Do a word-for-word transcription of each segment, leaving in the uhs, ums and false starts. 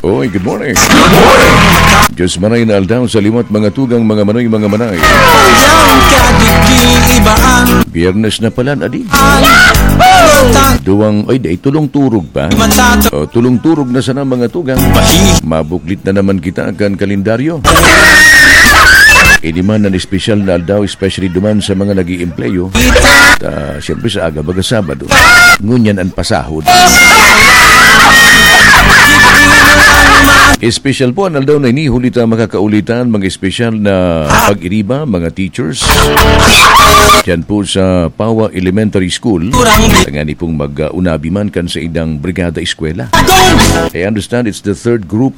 Oy, good morning. Diyos manay na aldaw sa liwat, mga tugang, mga manoy, mga manay. Biyernes na pala, adi. Duwang, ay, di, tulong turog pa. O, tulong turog na sana, mga tugang. Mabuklit na naman kita kan kalendaryo. Ini man an espesyal na aldaw, especially duman sa mga nag-iimpleyo. Ta, siyempre, sa aga baga Sabado. Ngunyan an pasahod. Espesyal po an aldaw na ini, huli ta makakauli ta an mga espesyal na pag-iriba, mga teachers. Diyan po sa Pawa Elementary School. Tangani pong mag-unabi man kan sa idang brigada eskwela. I understand it's the third group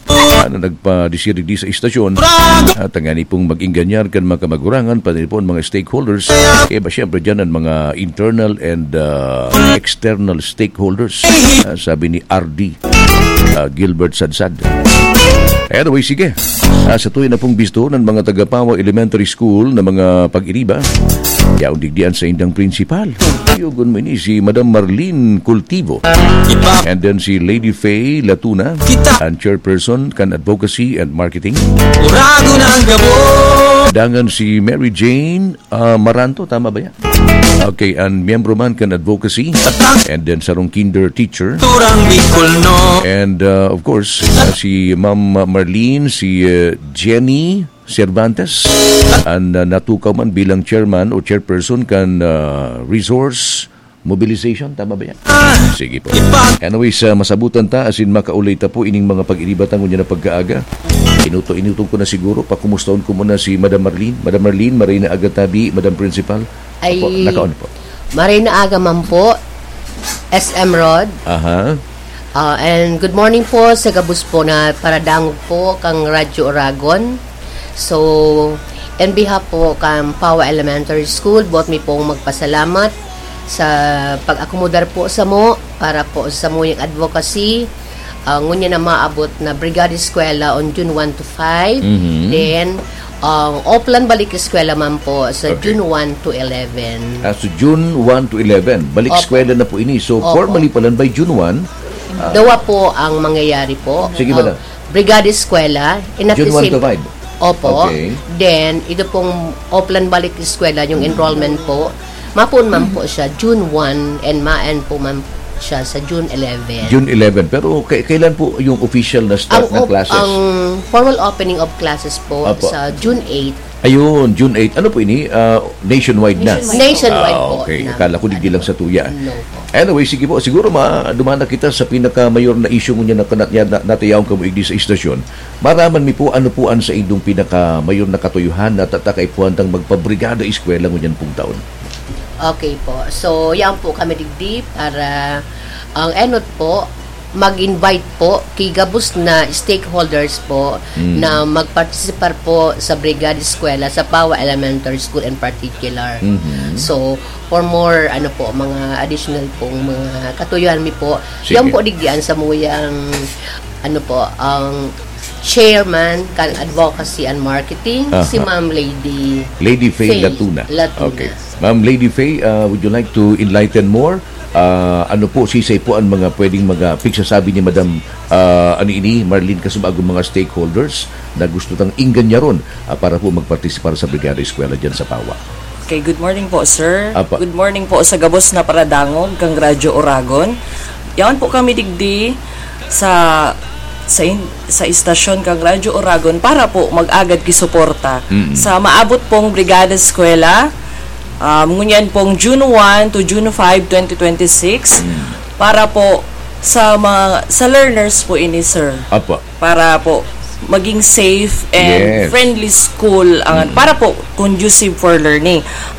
na nagpadisirigdi sa istasyon. At tangani pong mag-ingganyar kan mga kamagurangan, pati po ang mga stakeholders. Kaya ba, siyempre, dyan ang mga internal and, ah, external stakeholders, ah, sabi ni R D, ah, Gilbert Sadsad. Anyway, sige. Ah, sa tuyo na pong bisto ng mga taga-Pawa Elementary School na mga pag-iriba, yaon digdi an saindang principal. Yugon mo ini, si Madam Marlene Cultivo. And then si Lady Faye Latuna, ang chairperson kan Advocacy and Marketing. Uragon ang gabos. Dangan si Mary Jane, ah, Maranto, tama ba yan? Okay, ang miyembro man kan Advocacy. And then sarong kinder teacher. Turang Bicol, no? And, uh, of course, uh, si Ma'am Marlene, si, uh, Jenny Cervantes, ang, uh, natukaw man bilang chairman o chairperson kan, uh, Resource Mobilization. Tama ba yan? Sige po. Anyways, uh, masabutan ta, asin makaulay ta po ining mga pag-iriba ta ngunyan na pagkaaga. Inuto-, inuto ko na siguro, pakumustahon ko muna si Madam Marlene. Madam Marlene, maray na aga tabi, Madam Principal. Ay, opo, nakaon po. Maray na aga man po, S M Rod. Aha. Ah, and good morning po sa gabos po na paradangog po kang Radyo Oragon. So, in behalf po kan Pawa Elementary School, buot mi pong magpasalamat sa pag-akomodar po samo para po sa samuyang advocacy. Ah, ngunyan na maabot na Brigada Eskwela on June one to five. Mhm. Then, ang Oplan Balik Eskwela man po sa Okay. June one to eleven. Ah, so June one to eleven, balik Opo. eskwela na po ini. So, Opo. formally pala by June one, ah, Dawa po ang mangyayari po. Sige, Ah, madam. Brigada Eskwela, in at June the one same to five. Opo. Okay. Then, ito pong Oplan Balik Eskwela, yung enrollment po, mapoon man po siya June one and ma-end po man siya sa June eleven. June eleven. Pero kay-, kailan po yung official na start Ang ng op-, classes? ang formal opening of classes po Opo. sa June eight. Ayun, June eight. Ano po ini? Ah, nationwide na? Nationwide. Nationwide Ah, po okay. na. Akala ko digdi lang sa tuya. No po. Anyway, sige po. Siguro ma-, duman na kita sa pinakamayor na issue ngunyan na, na, na, natayaon kamo igdi sa istasyon. Maraman mi po, ano po ang sa indong pinakamayor na katuyuhan na tatakay po handang magpabrigada eskwela ngunyan pong taon? Okay po. So, yan po kami digdi para ang enot po, mag-invite po kay gabos na stakeholders po Mm. na magpartisipar po sa Brigada Eskwela sa Pawa Elementary School in particular. Mhm. So, for more, ano po, mga additional pong mga katuyuhan mi po, Sige. yan po digdian sa muyang, ano po, ang chairman kan Advocacy and Marketing, si Aha. Ma'am Lady Lady Faye Faye Latuna. Latuna. Okay. Ma'am Lady Faye, uh, would you like to enlighten more? Ah, ano po, sisay po ang mga pwedeng mga pigsasabi ni Madam, ah, ano ini, Marlene, kasubag ang mga stakeholders na gusto tang ingganyaron, ah, para po magpartisipar sa Brigada Eskwela dyan sa Pawa? Okay, good morning po, sir. Apa. Good morning po sa gabos na paradangog kang Radyo Oragon. Yaon po kami digdi sa, sa in-, sa istasyon kang Radyo Oragon para po mag-agad kisuporta Mm. sa maabot pong Brigada Eskwela, um, ngunyan pong June one to June five, twenty twenty-six, Mm. para po sa mga, sa learners po ini, sir. Apo. Para po maging safe and Yes. friendly school, ang, Mm. para po conducive for learning.